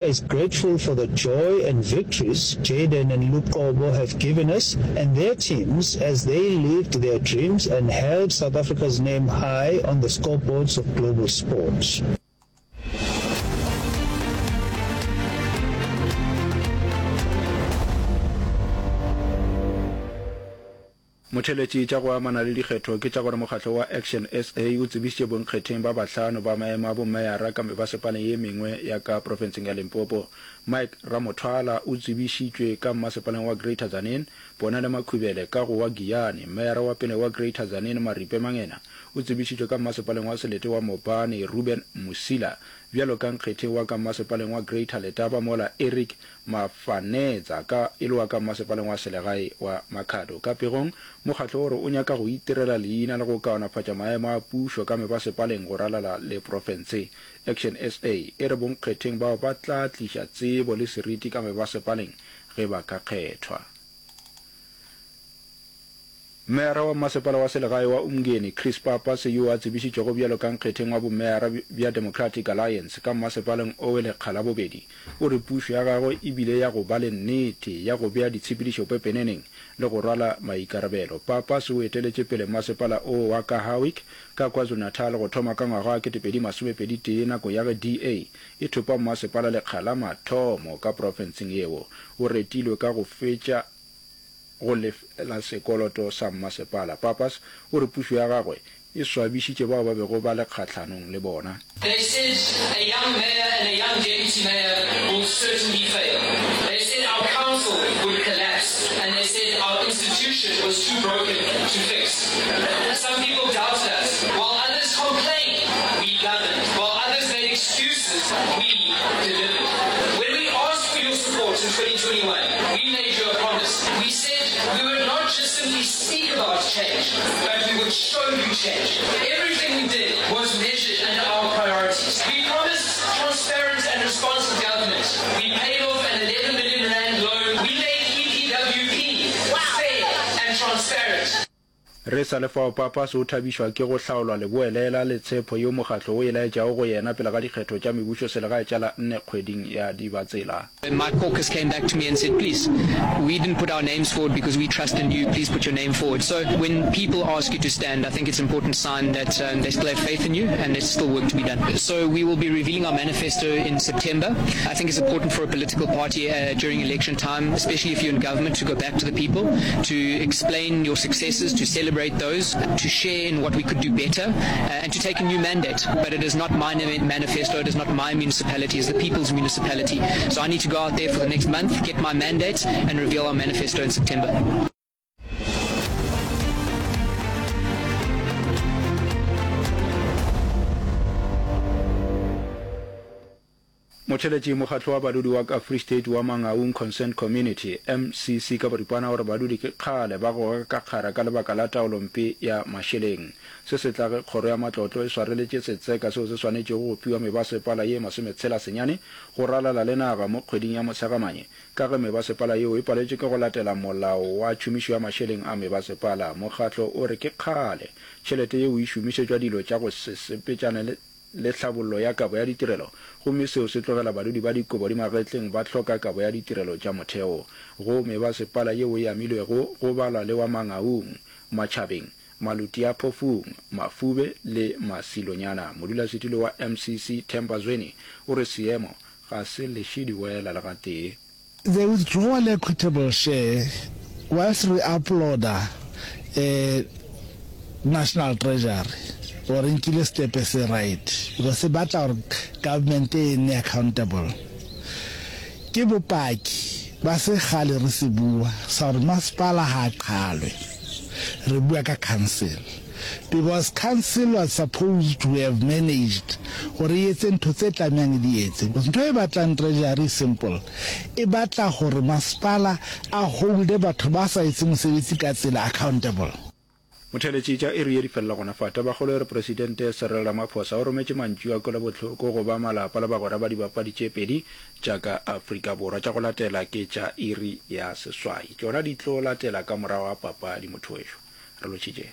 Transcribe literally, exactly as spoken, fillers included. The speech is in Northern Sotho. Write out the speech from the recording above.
Is grateful for the joy and victories Jayden and Luqobo have given us and their teams as they lived their dreams and held South Africa's name high on the scoreboards of global sport. Motheeletši tša go amana le dikgetho ke tša gore mokgatlo wa Action SA o tsebišitše bonkgetheng ba bahlano ba maemo a bomeyara ka mebasepaleng ye mengwe ya ka profenseng ya Limpopo. Mike Ramothwala o tsebišitšwe ka mmasepaleng wa Greater Tzaneen, Ponele Makhubele ka go wa Giyani, meyara wa pele wa Greater Tzaneen Maripe Mangena o tsebišitšwe ka mmasepaleng wa selete wa Mopani Reuben Mosila bjalo ka nkgetheng wa ka mmasepaleng wa Greater Letaba mola Eric Mafanetsa ka e le wa ka mmasepaleng wa selegae wa Makhado. Ka pegong, mokgatlo o re o nyaka go itirela leina le go kaonafatša maemo a pušo ka mebasepaleng go ralala le profense. Action SA e re bonkgetheng bao ba tla tliša tsebo le seriti ka mebasepaleng ge ba ka kgethwa. Meyara wa Mmasepala wa Selegae wa Umngeni, Chris Pappas, yo a tsebišitšwego bjalo ka nkgetheng wa bomeyara bja Democratic Alliance ka mmasepaleng owe lekga la bobedi, o re pušo ya gagwe e bile ya go ba le nnete, ya go bea ditshepedišo pepeneneng le go rwala maikarabelo. Pappas o eteletše pele mmasepala owe wa ka Howick ka KwaZulu-Natal go thoma ka ngwaga wa ketepedi masomepedi tee nako ya ge D A e thopa mmasepala lekga la mathomo ka profenseng yeo. O retilwe ka go fetša go lefela sekoloto sa mmasepala. Pappas o re pušo ya gagwe e swabišitše bao ba bego ba le kgahlanong le bona. They said a young mayor and a young deputy mayor will certainly fail. They said our council would collapse and they said our institution was too broken to fix. Some people doubted us. While others complained, we governed. While others made excuses, we delivered. When we asked for your support in twenty twenty-one, we made you a promise. We said we would not just simply speak about change, but we would show you change. Everything we did was measured under our priorities. We promised transparent and responsive government. We paid off an eleven million rand loan. We made E P W P fair and transparent. Re sa le fao, Pappas o thabišwa ke go hlaolwa leboelela le tshepo yeo mokgatlo o e laetšago go yena pele ga dikgetho tša mebušoselegae tša la nne kgweding ya Dibatsela. My caucus came back to me and said, please, we didn't put our names forward because we trust in you, please put your name forward. So when people ask you to stand, I think it's an important sign that, um, they still have faith in you and there's still work to be done. So we will be revealing our manifesto in September. I think it's important for a political party, uh, during election time, especially if you're in government, to go back to the people, to explain your successes, to celebrate those, to share in what we could do better, uh, and to take a new mandate. But it is not my manifesto, it is not my municipality, it's the people's municipality. So I need to go out there for the next month, get my mandate, and reveal our manifesto in September. Motheeletši Mokgatlo wa Badudi wa ka Free State wa Mangaung Concerned Community, M C C ka boripana, o re badudi ke kgale ba goga ka kgara ka lebaka la taolompe ya mašeleng. Se se tla ge kgoro ya matlotlo e swareletše setseka seo se swanetšego go fiwa mebasepala ye masometshela senyane go ralala le naga mo kgweding ya Motshegamanye ka ge mebasepala yeo e paletšwe ke go latela molao wa tšhomišo ya mašeleng a mebasepala. Mokgatlo o re ke kgale tšhelete yeo e šomišetšwa dilo tša go se sepetšane le le tlhabollo ya kabo ya ditirelo, gomme seo se tlogela badudi ba dikobo di magetleng ba hloka kabo ya ditirelo tša motheo. Go mebasepala yeo e amilwego go balwa le wa Mangaung, Matšhabeng, Malutiaphofung, Mafube le Masilonyana. Modulasetulo wa M C C Themba Zweni o re seemo ga se leše diwela le gatee. The withdrawal equitable share, whilst re applauda National Treasury gore e nkile stepe se right because se batla gore government e nne accountable, ke bopaki ba se kgale re se bua sa gore masepala ha a qhalwe, re bua ka council. Because council was supposed to have managed gore e etse ntho tse tlamehang e di etse because ntho e batlang treasury e simple, e batla gore masepala a holde batho ba sa etse mosebetsi ka tsela accountable. Motheeletši tša iri ye di felela gona fa. Tabakgolo e re Presidente Cyril Ramaphosa o rometše mantšu a kwelobohloko go ba malapa le bagwera ba dibapadi tše pedi tša ka Afrika Borwa. Tša go latela ke tša iri ya seswai. Tšona di tlo latela ka morago ga papadi motho wešo. Re lotšhitše.